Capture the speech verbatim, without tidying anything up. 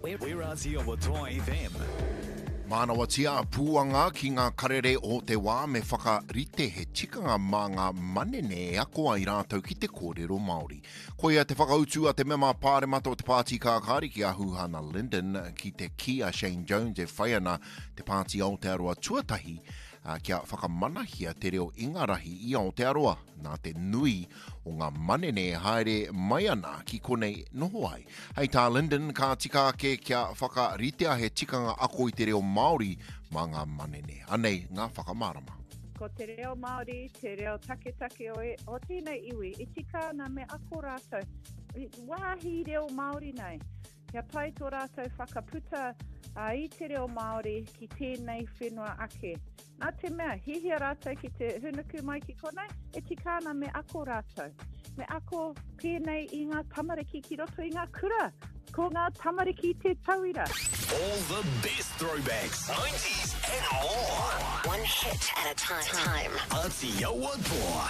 We're Aotearoa Toa F M. Mānawatia a Pūanga ki ngā karere o te wā me whakarite he tikanga mā ngā manene e ako ai rātou ki te kōrero Māori. Koia te whakautu a te mema pāremata o te Pāti Kākāriki a Huhana Lyndon ki te kī a Shane Jones e whai ana te Pāti Aotearoa Tuatahi kia whakamanahia te reo Ingarahi i Aotearoa nā te nui o ngā manene e haere mai ana ki konei noho ai. Hei tā Lyndon, ka tika ake kia whakaritea he tikanga ako i te reo Māori mā ngā manene. Anei ngā whakamārama. Ko te reo Māori, te reo taketake o, e, o tēnei iwi, e tika ana me ako rātou. Wāhi reo Māori nei. Kia pai tō rātou whakaputa a, i te reo Māori ki tēnei whenua ake. Nā te mea, hihia rātou ki te hunuku mai ki konei, e tika ana me ako rātou. Me ako pēnei i ngā tamariki ki roto i ngā kura. Ko ngā tamariki te tauira. All the best throwbacks, nineties and more. One hit at a time. Aotearoa Toa.